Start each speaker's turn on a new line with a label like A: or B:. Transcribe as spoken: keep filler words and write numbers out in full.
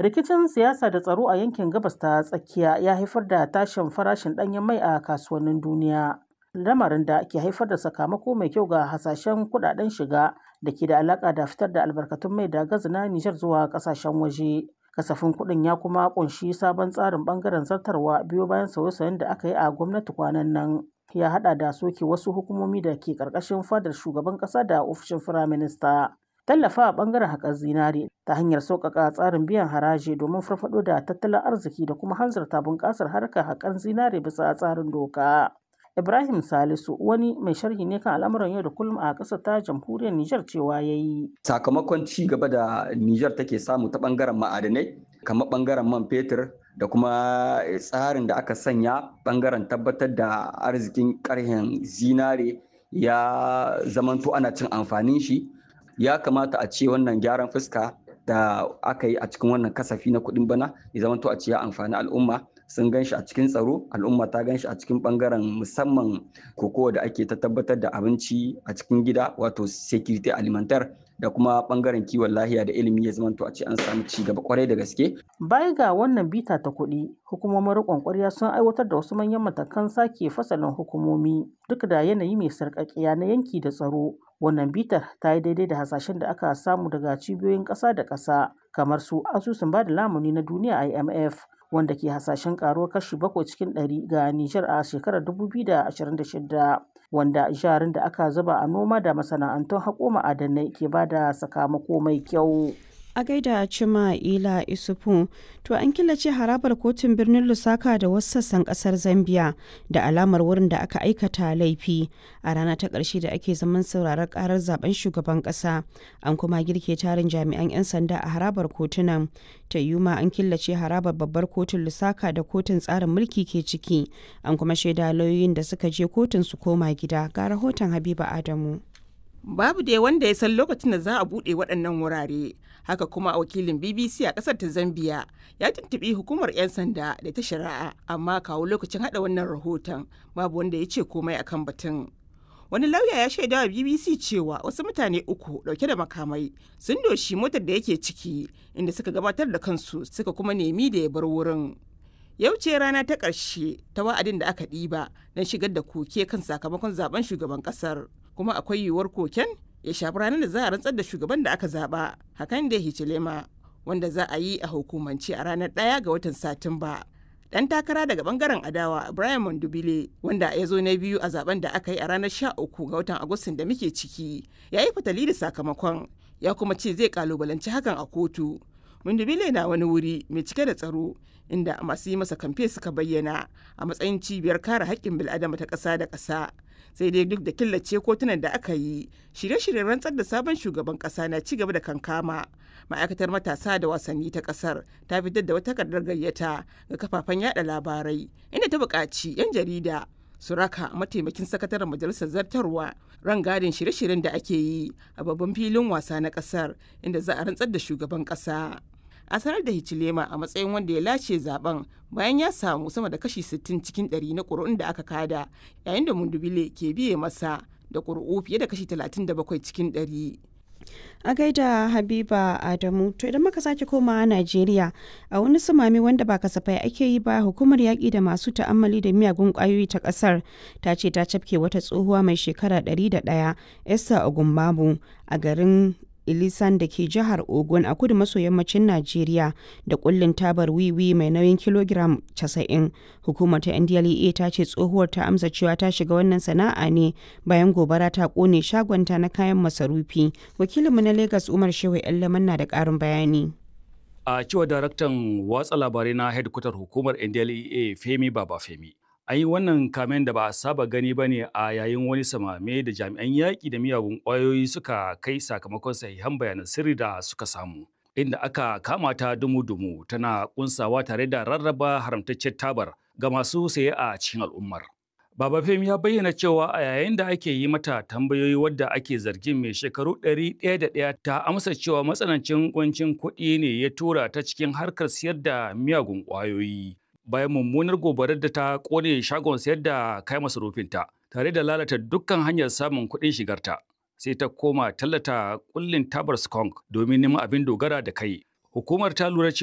A: Rikicin siyasa da tsaro a yankin Gabas ta Tsakiya ya haifar da tashin farashin ɗanyen mai a kasuwannin duniya, lamarin da ke haifar da sakamako mai kyau ga hasashen kudaden shiga da ke da alaƙa da fitar da albarkatun mai da gas na Nijar zuwa ƙasashen waje. Kasafin kuɗin ya kuma ƙunshi sabon tsarin ɓangaren zartarwa biyo bayan sauye-sauyen da aka yi a gwamnati kwanan nan. Ya haɗa da soke wasu hukumomi da ke ƙarƙashin fadar shugaban ƙasa da ofishin firaminista. Tallafawa ɓangaren haƙar zinare ta hanyar sauƙaƙa tsarin biyan haraji domin farfaɗo da tattalin arziki da kuma hanzarta bunƙasar harkar haƙar zinare bisa tsarin doka. Ibrahim Salisu wani mai sharhi ne kan al'amuran yau da kullum a ƙasar ta jamhuriyar Nijar cewa ya yi.
B: Sakamakon ci gaba da Nijar take samu ta ɓangaren ma'adanai, kamar ɓangaren man fetur da kuma tsarin da aka sanya ɓangaren tabbatar da arzikin ƙarhen zinare ya zamanto ana cin amfanin shi. Ya kamata a ce wannan gyaran fuska da aka yi a cikin wannan kasafi na kuɗin bana ya zamanto a ce ya amfani al'umma. Sun gan shi a cikin tsaro, al'umma ta gan shi a cikin bangaren musamman kokowa da ake ta tabbatar da abinci a cikin gida, wato security alimentaire, da kuma bangaren kiwon lahiya da ilimi, ya zamanto a ce an samu ci gaba kwarai da gaske.
A: Baya ga wannan bita ta kuɗi, hukumomin riƙon ƙwarya sun aiwatar da wasu manyan matakan sake fasalin hukumomi duk da yanayi mai sarƙaƙiya na yanki da tsaro. Wannan bitar ta yi daidai da hasashen da aka samu daga cibiyoyin ƙasa da ƙasa kamar su Asusun Bada Lamuni na Duniya I M F, wanda ke hasashen karuwar kashi bakwai cikin ɗari ga Nijar a shekarar dubu biyu da ashirin da shida, wanda jarin da aka zuba a noma da masana'antun haƙo ma'adanai ke ba da sakamako mai kyau.
C: A gaida Cima Ila Isufu. To, an killace harabar kotun birnin Lusaka da wasu sassan kasar Zambia da alamar wurin da aka aikata laifi a rana ta ƙarshe da ake zaman sauraron karar zaben shugaban ƙasa. An kuma girke tarin jami'an 'yan sanda a harabar kotunan. Ta yuma an killace harabar babbar kotun Lusaka da kotun tsarin mulki ke ciki. An kuma shaida lauyoyin da suka je kotun su koma gida. Ga rahoton Habiba Adamu.
D: Babu dai wanda ya san lokacin da za a buɗe waɗannan wurare. Haka kuma wakilin B B C a ƙasar ta Zambia ya tuntuɓi hukumar 'yan sanda da ta shari'a, amma kawo lokacin haɗa wannan rahoton babu wanda ya ce komai akan batun. Wani lauya ya shaida wa B B C cewa wasu mutane uku ɗauke da makamai sun doshi motar da yake ciki, inda suka gabatar da kansu suka kuma nemi da ya bar wurin. Yau ce rana ta ƙarshe ta wa'adin da aka ɗiba don shigar da koke kan sakamakon zaben shugaban ƙasar. Kuma akwai yiwuwar koken ya shafi ranar da za a rantsar da shugaban da aka zaba, hakan da Hichilema, wanda za a yi a hukumance a ranar ɗaya ga watan Satumba. Dan takara daga bangaren adawa, Brian Mondubile, wanda ya zo na biyu a zaben da aka yi a ranar sha uku ga watan Agustin da muke ciki, ya yi fatali da sakamakon, ya kuma ce zai kalubalanci hakan a kotu. Mondubile na wani wuri mai cike da tsaro inda masu yi masa kamfe suka bayyana a matsayin cibiyar kare haƙƙin bil'adama ta ƙasa da ƙasa. Sai dai duk da killace kotunan da aka yi, shirye-shiryen rantsar da sabon shugaban kasa na ci gaba da kankama. Ma'aikatar matasa da wasanni ta kasar ta fitar da wata takardar gayyata ga kafafen yada labarai, inda ta buƙaci 'yan jarida su raka mataimakin sakataren majalisar zartarwa rangadin shirye-shiryen da ake yi a babban filin wasa na kasar inda za a rantsar da shugaban kasa. A sanar da Hichilema a matsayin wanda ya lashe zaben bayan ya samu sama da kashi sittin cikin ɗari na ƙuri'un da aka kada, yayin da Mundubile ke biye masa da ƙuri'u fiye da kashi talatin da bakwai cikin ɗari.
C: A gaida Habiba Adamu. To, idan muka sake komawa Najeriya, a wani sumami wanda ba kasafai ake yi ba, hukumar yaƙi da masu ta'ammali da miyagun ƙwayoyi ta ƙasar ta ce ta cafke wata tsohuwa mai shekara ɗari da ɗaya, Esther Ogunbabu, a garin Ilisan da ke jihar Ogun a kudu maso yammacin Najeriya da kullin tabar wiwi mai nauyin kilogiram casa'in. Hukumar ta N D L E A ta ce tsohuwar ta amsa cewa ta shiga wannan sana'a ne bayan gobara ta kone shagonta na kayan masarufi. Wakilinmu na Lagos, Umar Shehu Yallaman, na da ƙarin bayani.
E: A cewar daraktan watsa labarai na hedkwatar hukumar N D L E A, Femi Babafemi, an yi wannan kamen da ba a saba gani ba ne a yayin wani samame da jami'an yaƙi da miyagun ƙwayoyi suka kai sakamakon sahihan bayanan sirri da suka samu, inda aka kama ta dumu-dumu tana kunsawa tare da rarraba haramtaccen tabar ga masu saye a cikin al'ummar. Baba Femi ya bayyana cewa a yayin da ake yi mata tambayoyi, wadda ake zargin mai shekaru ɗari ɗaya da ɗaya ta amsa cewa matsanancin kuncin kuɗi ne ya tura ta cikin harkar siyar da miyagun ƙwayoyi, bayan mummunar gobarar da ta kone shagon sayar da kayan masarufinta tare da lalata dukkan hanyar samun kuɗin shigarta. Sai ta koma tallata kullin tabar skunk domin neman abin dogara da kai. Hukumar ta lura